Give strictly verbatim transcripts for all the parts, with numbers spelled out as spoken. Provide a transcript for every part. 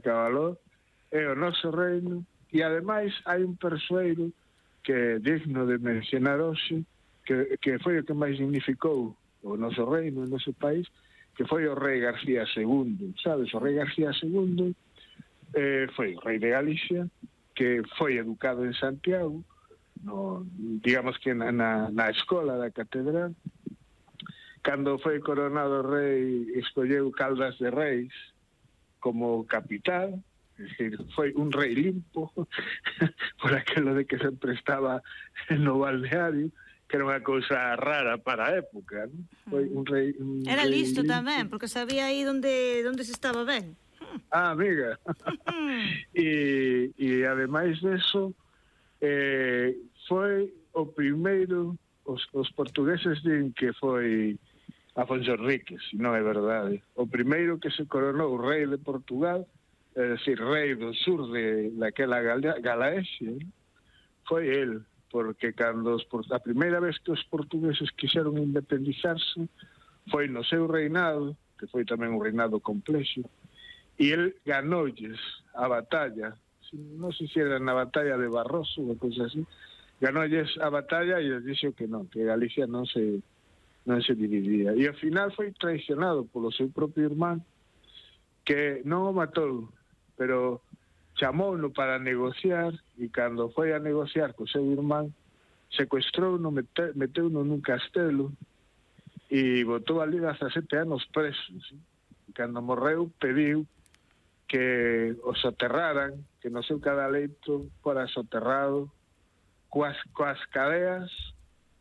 Cabaló é o noso reino, e ademais hai un persoeiro que é digno de mencionar hoxe, que, que foi o que máis dignificou o noso reino, o noso país, que foi o rei García segundo, sabes? O rei García segundo eh, foi o rei de Galicia, que foi educado en Santiago, no, digamos que na, na, na escola da catedral. Cando foi coronado rei, escolleu Caldas de Reis como capital, es decir, foi un rei limpo por aquilo de que sempre estaba no balneario, que era unha cousa rara para a época, ¿no? Foi un rei un Era rei listo limpo. tamén, porque sabía aí onde, onde se estaba ben. Ah, amiga. e, e ademais deso, eh, foi o primeiro, os, os portugueses din que foi Afonso Enríquez, non é verdade. O primeiro que se coronou rei de Portugal, é dicir, rei do sur de daquela Galaesia, foi el, porque cando os, a primeira vez que os portugueses quixeron independizarse foi no seu reinado, que foi tamén un reinado complexo, e el ganolles a batalla, non sei se era na batalla de Barroso ou cousas así, ganolles a batalla e les dixo que non, que Galicia non se non se dividía. E ao final foi traicionado polo seu propio irmán, que non o matou, pero chamouno para negociar, e cando foi a negociar co seu irmán, secuestrouno, meteuno nun castelo e botou ali dezasete anos presos. E cando morreu pediu que o soterraran, que no seu cadaleito fora soterrado coas, coas cadeas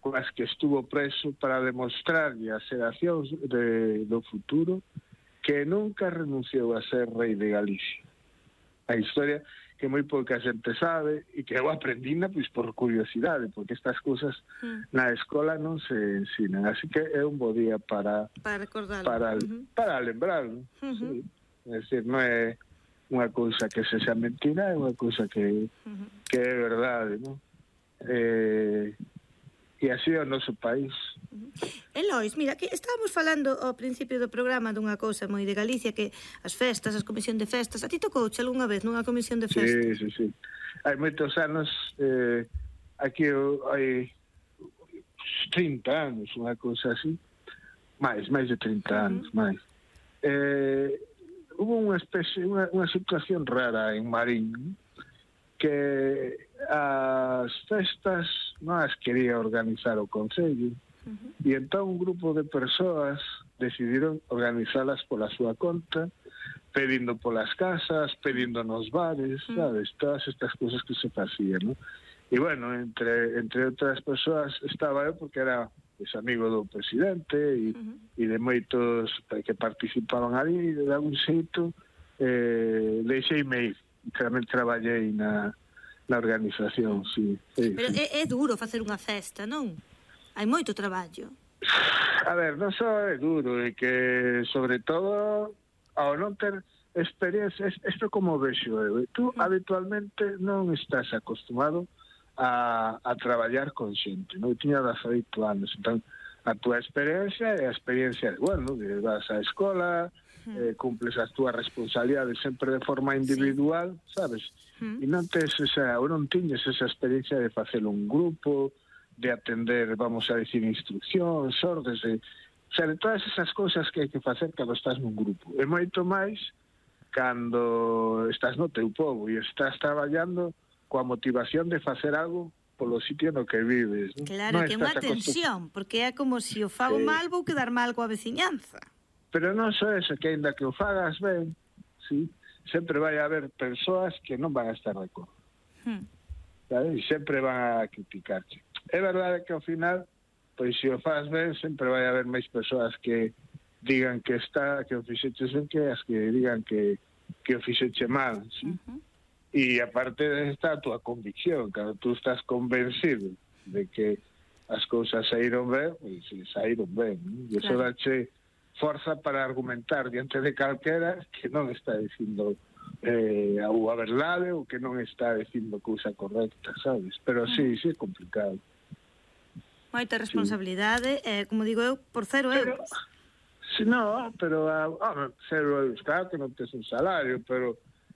coas que estuvo preso, para demostrarlle as xeracións de, do futuro que nunca renunciou a ser rei de Galicia. A historia que moi pouca xente sabe e que eu aprendina pois por curiosidade, porque estas cousas mm. na escola non se ensinan, así que é un bo día para para recordarlo, para, uh-huh. para lembrarlo. Uh-huh. Sí. É dicir, non é unha cousa que se xa mentira, é unha cousa que uh-huh. que é verdade, non? Eh, e así é o noso país. Uh-huh. Elois, mira, que estábamos falando ao principio do programa dunha cousa moi de Galicia, que as festas, as comisión de festas, a ti tocouche algunha vez nunha comisión de festas? Sí, sí, sí. Hai moitos anos, eh, aquí hai trinta anos, unha cousa así, máis, máis de trinta anos, uh-huh. máis. Eh, hubo unha especie, unha, unha situación rara en Marín, que as festas non as quería organizar o Concello, uh-huh. e entón un grupo de persoas decidiron organizalas pola súa conta, pedindo polas casas, pedindo nos bares, uh-huh. sabes, todas estas cousas que se facían, ¿no? E bueno, entre entre outras persoas estaba eu, porque era pues, amigo do presidente e, uh-huh. e de moitos que participaban ali, de algún xeito eh, deixeime ir. Tamén traballei na, na organización, sí. sí Pero sí. É, é duro facer unha festa, non? Hai moito traballo. A ver, non só é duro, é que, sobre todo, ao non ter experiencia, isto como vexo eu, tú mm. habitualmente non estás acostumado a, a traballar con xente, non? Eu tiña dezaoito anos, entón, a túa experiencia é a experiencia de, bueno, de vas á escola, eh, cumples as túas responsabilidades sempre de forma individual, sí. sabes? Mm. E non tes esa, ou non tiñes esa experiencia de facer un grupo, de atender, vamos a decir, instruccións, ordes, de, o sea, de todas esas cousas que hai que facer cando estás nun grupo. E moito máis cando estás no teu pobo e estás traballando coa motivación de facer algo polo sitio no que vives, ¿no? Claro, non que é unha tensión, porque é como se o fago sí. mal, vou quedar mal coa veciñanza. Pero non só eso, que ainda que o fagas ben, sí, sempre vai haber persoas que non van a estar de acordo. Hmm. E sempre van a criticarte. É verdade que ao final, pois se o faz ben, sempre vai haber máis persoas que digan que está, que o fixeches ben, que as que digan que, que o fixeche mal, sí? Uh-huh. E aparte está a túa convicción, cando tú estás convencido de que as cousas saíron ben, pois saíron ben, ¿no? E iso dache forza para argumentar diante de calquera que non está dicindo eh, a verdade ou que non está dicindo cousa correcta, sabes? Pero sí, sí é complicado. Moita responsabilidade, sí. eh, como digo eu, por cero pero, euros. Si no, pero ah, cero euros, claro que non tes un salario, pero